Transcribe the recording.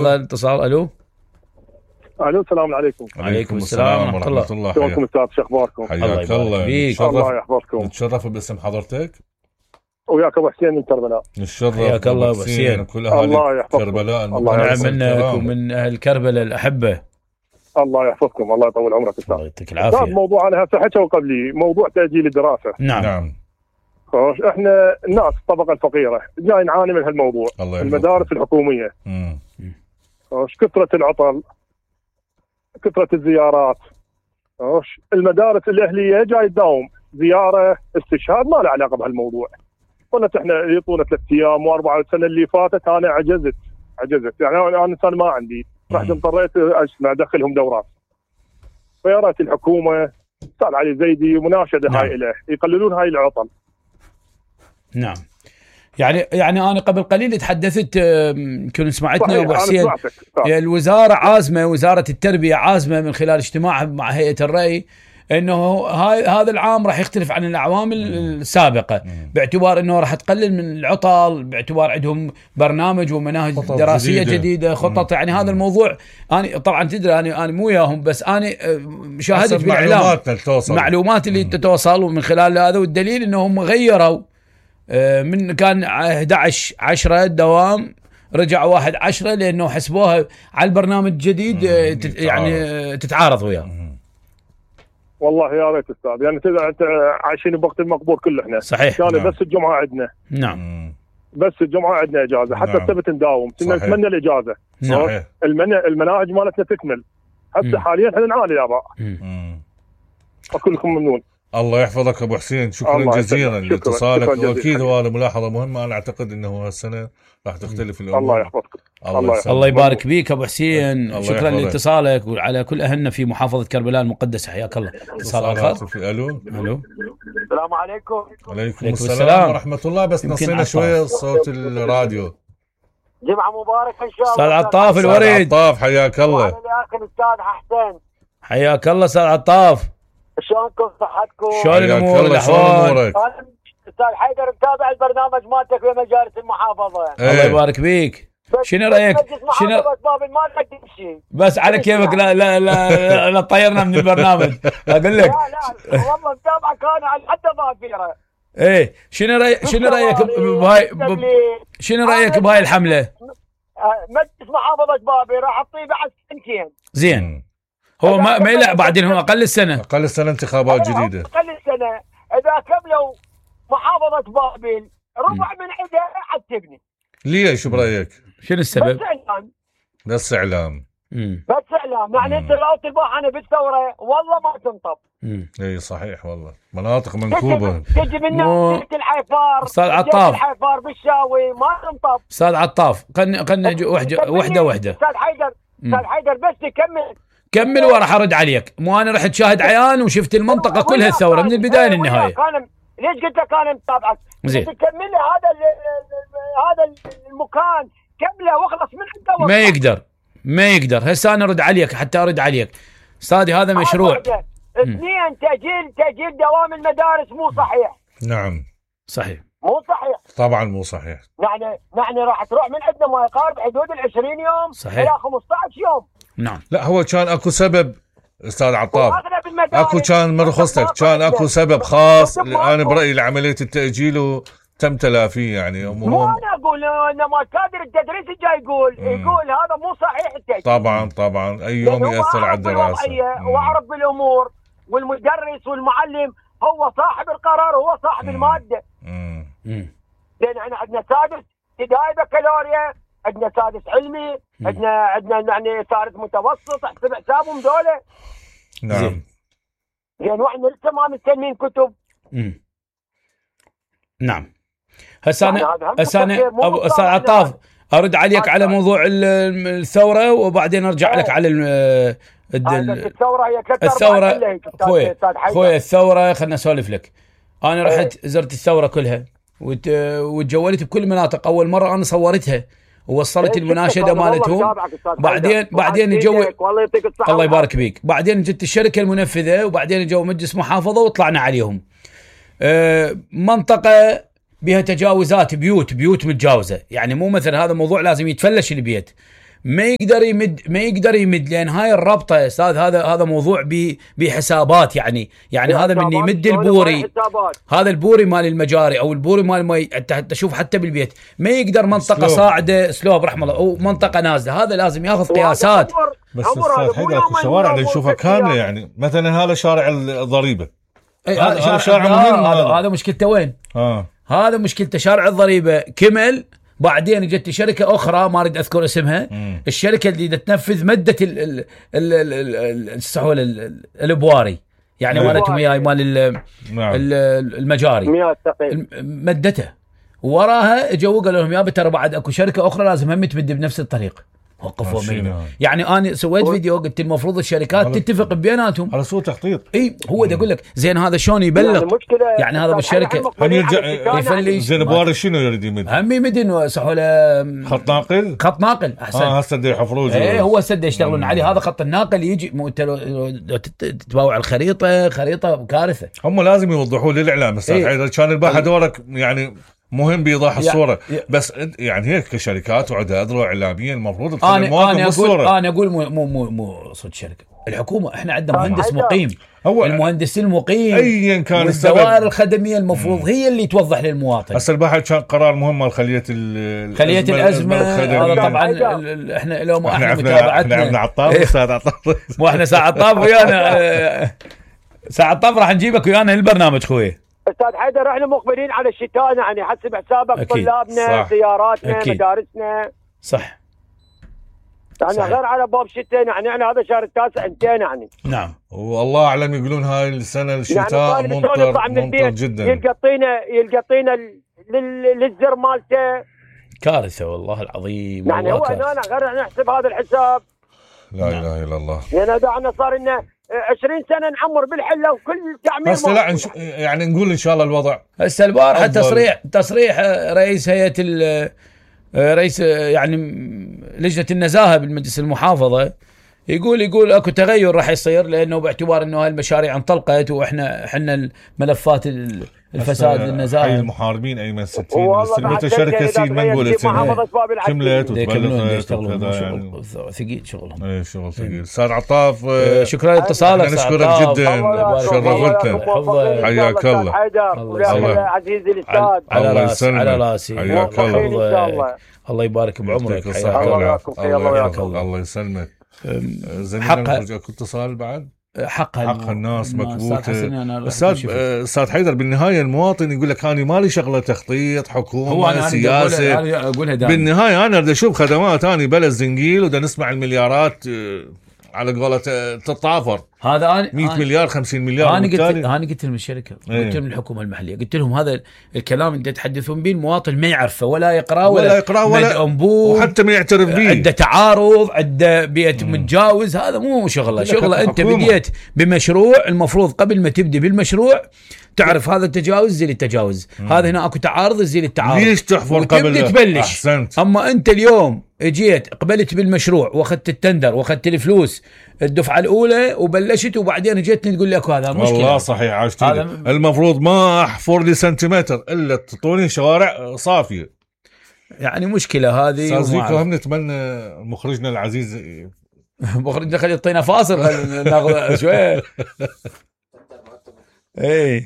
الاتصال. الو السلام عليكم. وعليكم السلام ورحمة الله. شلونكم استاذ؟ شو اخباركم؟ حياك الله. الله يحفظكم. نتشرف باسم حضرتك. وياك ابو حسين من كربلاء. نتشرف. حياك الله ابو حسين وكل اهالي كربلاء. نعم منك ومن اهل كربلاء الاحبه. الله يحفظكم. الله يطول عمرك استاذ. الله يعطيك العافيه. موضوع انا هسه حكوا قبلي موضوع تاجيل الدراسه. نعم. احنا الناس الطبقه الفقيره جاي نعاني من هالموضوع. المدارس الحكوميه كثره العطل، كثره الزيارات. المدارس الاهليه جاي تداوم زياره استشهاد ما له علاقه بهالموضوع. قلت احنا يعطونا 3 ايام و4. السنه اللي فاتت انا عجزت يعني انا انسان ما عندي، رحت اضطريت ادخلهم دورات. فيا ريت الحكومه استاذ علي زيدي مناشده هاي له يقللون هاي العطل. نعم. يعني انا قبل قليل تحدثت، يمكن سمعتني يا ابو حسين. الوزاره عازمه، وزاره التربيه عازمه من خلال اجتماعها مع هيئه الري انه هذا العام راح يختلف عن الاعوام السابقه، باعتبار انه راح تقلل من العطل، باعتبار عندهم برنامج ومناهج دراسيه جديده خطط. يعني هذا الموضوع انا طبعا تدري انا مو وياهم، بس انا شاهدت بالاعلام معلومات اللي تتوصل من خلال هذا، والدليل انهم غيروا من كان 11/10 الدوام رجع 1/10 لانه حسبوها على البرنامج الجديد يعني تتعارض وياه. والله يا ريت استاذ، يعني انت عايشين بوقت المقبور كله احنا. صحيح. كان بس الجمعه عندنا. نعم. بس الجمعه عندنا اجازه، حتى السبت نداوم. كنا نتمنى الاجازه. صحيح. المناهج مالتنا تكمل. هسه حاليا احنا نعاني الاعضاء. وكلكم ممنون. الله يحفظك ابو حسين، شكرا جزيلا لاتصالك. واكيد هذا ملاحظه مهمه. انا اعتقد انه هالسنه راح تختلف الامور. الله يحفظك. الله يبارك بيك ابو حسين. شكرا لاتصالك وعلى كل اهلنا في محافظه كربلاء المقدسه. حياك الله. اتصال اخر. الو. السلام عليكم. وعليكم السلام ورحمه الله. بس نصينا شويه صوت الراديو. جمعه مباركه ان شاء الله. استاذ عطاف الوريد. عطاف حياك الله. وانا الاخ الاستاذ حسين. حياك الله استاذ عطاف. شلونكم صحتكم؟ شلون الامور الاحوال؟ استاذ حيدر متابع البرنامج مالتك في مجالس المحافظه. الله يبارك بيك. شنو رايك؟ شنو ما نقدم شيء بس على كيفك. لا طيرنا من البرنامج اقول لك. لا والله متابعك انا على حتى ظافره. ايه شنو رايك بهاي شنو رايك بهاي الحمله؟ مجلس محافظه بابي راح اعطيه بعد سنتين. زين. هو ما يلعب بعدين، هو اقل السنه انتخابات جديده. اقل السنه اذا كملوا محافظه بابل ربع من عندها عاد تبني. ليش برايك؟ شنو السبب؟ بس اعلام. يعني انت لو تلبح انا بالثوره والله ما تنطب. اي صحيح والله. مناطق منكوبه تجي من ناحيه الحيفار. استاذ عطاف. الحيفار بالشاوي ما تنطب. استاذ عطاف خلنا وحده. استاذ حيدر بس كمل وراح ارد عليك. مو انا رحت شاهد عيان وشفت المنطقه كلها الثوره من البدايه للنهايه. ليش قلت لك انا متابعك؟ زين. تكمل هذا المكان كمله واخلص من عنده. ما يقدر. هسه انا ارد عليك حتى ارد عليك. استاذي هذا مشروع. 2 تأجيل دوام المدارس مو صحيح. نعم صحيح. مو صحيح. طبعا مو صحيح. يعني راح تروح من عندنا ما يقارب حدود 20 يوم صحيح. الى 15 يوم. نعم. لا هو كان اكو سبب استاذ عطاف. اكو كان مرخصتك كان اكو سبب خاص. انا برايي لعمليه التاجيل وتم تلافيه. يعني مو انا اقول انما كادر التدريس جاي يقول هذا مو صحيح التاجيل. طبعا اي يوم ياثر على الدراسه. واعرف بالامور، والمدرس والمعلم هو صاحب القرار، هو صاحب الماده. لان احنا عندنا سادس ابتدائي بكالوريا، عندنا سادس علمي، عندنا يعني سادس متوسط. احسب حسابهم دولة. نعم. يعني واحنا لسه ما مستلمين كتب. نعم. هسه انا ابو استاذ عطاف ارد عليك على موضوع الثوره وبعدين ارجع لك على الثوره. هي الثوره خويا الثوره. خلنا اسولف لك. انا رحت زرت الثوره كلها وتجولت بكل مناطق. اول مره انا صورتها ووصلت المناشده مالتهم. بعدين جو الله يبارك بيك. بعدين جت الشركه المنفذه، وبعدين جو مجلس محافظه وطلعنا عليهم. منطقه بها تجاوزات، بيوت متجاوزه. يعني مو مثل هذا موضوع لازم يتفلش البيت. ما يقدر يمد لان هاي الربطه يا استاذ. هذا موضوع بحسابات يعني هذا من يمد البوري، هذا البوري مال المجاري او البوري مال انت تشوف حتى بالبيت ما يقدر منطقه صاعده سلوب رحم الله او منطقه نازله، هذا لازم ياخذ قياسات. بس استاذ حيدر الشوارع اللي نشوفها كامله يعني مثلا هذا شارع الضريبه، هذا شارع مهم. هذا مشكلته وين؟ هذا مشكلته شارع الضريبه كمل، بعدين اجت شركه اخرى ما اريد اذكر اسمها، الشركه اللي تنفذ مده الابواري يعني مالتهم وياي مال المجاري مدته، وراها اجوا قالوا لهم يابا ترى بعد اكو شركه اخرى لازم هم تمد بنفس الطريق، وقفوا يعني انا سويت فيديو قلت المفروض الشركات تتفق بيناتهم على سوء تخطيط. اي هو دا اقول لك زين هذا شلون يبلغ يعني هذا بالشركه هم يفلش زين بواري شنو يريد يمد؟ هم يمدن صحوا له خط ناقل احسن. هسه يحفروه هو هسه يشتغلون عليه، هذا خط الناقل يجي تتباوع الخريطه كارثه. هم لازم يوضحوا للاعلام استاذ حيدر، كان الباحه دورك يعني مهم بيضاح الصوره بس يعني هيك كشركات وعندها اذرع اعلاميه المفروض تخلي المواطن بالصوره. انا اقول مو صد شركه الحكومه، احنا عندنا مهندس مقيم، هو المهندس المقيم ايا كان الدوائر الخدميه المفروض هي اللي توضح للمواطن. هسه الباحث كان قرار مهم مال خليه الازمه. هذا طبعا احنا لو ما احنا متابعتنا احنا عطاف استاذ عطاف مو احنا ساعه طاف ويانا ساعه طاف راح نجيبك ويانا البرنامج خوي استاذ حيدر. احنا مقبلين على الشتاء يعني حسب حسابك أكيد. طلابنا سياراتنا أكيد. مدارسنا صح يعني صحيح. غير على باب شتاء يعني هذا شهر التاسع انتين يعني. نعم والله اعلم يقولون هاي السنه الشتاء يعني ممطر جدا، يلقطينا للزر مالته كارثه والله العظيم. يعني هو هنا غير نحسب هذا الحساب. لا اله الا الله. يعني دعنا صار لنا 20 سنة نعمر بالحلة وكل تعمير. بس لا يعني نقول ان شاء الله الوضع هسه البارحة تصريح رئيس هيئة رئيس يعني لجنة النزاهة بالمجلس المحافظة يقول اكو تغير راح يصير، لانه باعتبار انه هاي المشاريع انطلقت واحنا الملفات الفساد النزاهه. حي المحاربين ايمن 60 استلمت شركه سيد ما نقولت كملت وتبلغت يعني ثقيل شغلهم. اي شغل ثقيل. استاذ عطاف شكرا لاتصالك، نشكرك جدا شرفتنا. حياك الله عزيزي الاستاذ. على راسي حياك الله. الله يبارك بعمرك. الله يسلمك. حقها اتصال بعد حق الناس مكبوته. استاذ حيدر بالنهايه المواطن يقول لك انا مالي شغله تخطيط حكومه سياسه، بالنهايه انا بدي اشوف خدمات، انا بلد زنقيل ودا نسمع المليارات على قولة تتطافر. هذا 100 مليار 50 مليار. انا قلت لهم الشركه قلت لهم الحكومه المحليه، قلت لهم هذا الكلام اللي تتحدثون به المواطن ما يعرفه ولا يقراه ولا وحتى ما يعترف به. عنده تعارض، عنده بيت متجاوز، هذا مو شغله انت بديت بمشروع المفروض قبل ما تبدي بالمشروع تعرف هذا التجاوز زي التجاوز، هذا هنا اكو تعارض زي التعارض، ليش تحفر قبل تبلش. أحسنت. اما انت اليوم اجيت قبلت بالمشروع واخذت التندر واخذت الفلوس الدفعه الاولى وبلشت وبعدين جيتني تقول لك هذا مشكله. والله صحيح عاشتني. المفروض ما احفر لي سنتيمتر الا تعطوني شوارع صافيه. يعني مشكله هذه. زيكو هم نتمنى مخرجنا العزيز مخرجنا خلي يعطينا فاصل ناخذ شويه. ايه